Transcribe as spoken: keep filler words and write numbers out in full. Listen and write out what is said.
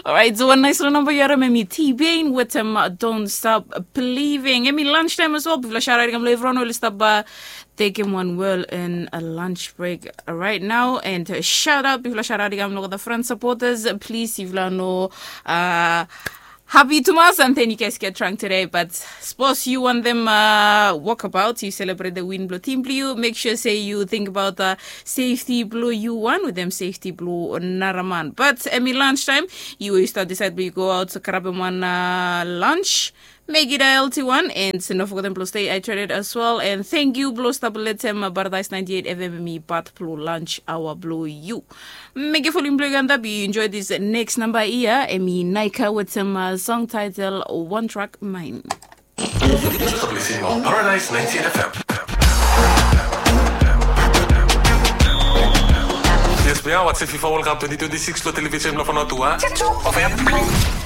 Alright, so wan nais long namba yu harim em i T-Pain wetem Don't Stop Believing. Em i lunch time as well. Bifala shout out i kam long evriwan we oli stap tekem wan well and a lunch break right now. And shout out, bifala shout out i kam long the front supporters. Please, bifala no uh, happy tumas and then you guys get drunk today. But suppose you want them uh, walk about, you celebrate the win blong team blong you. Make sure say you think about the safety blong you one with them safety blong naraman. But em i lunch time. You will start decide blong you go out, grab him one uh, lunch. Make it a healthy one and no forget blong stay hydrated as well. And thank you blong stop letem Paradise ninety-eight F M mi part blong lunch hour blong you. Make a following blog and that you enjoy this next number here. Em i Naika with some uh, song title One Track Mind. Paradise ninety-eight F M. Yes, we are. What's FIFA World Cup twenty twenty-six lo television lo Fanotua. Of M.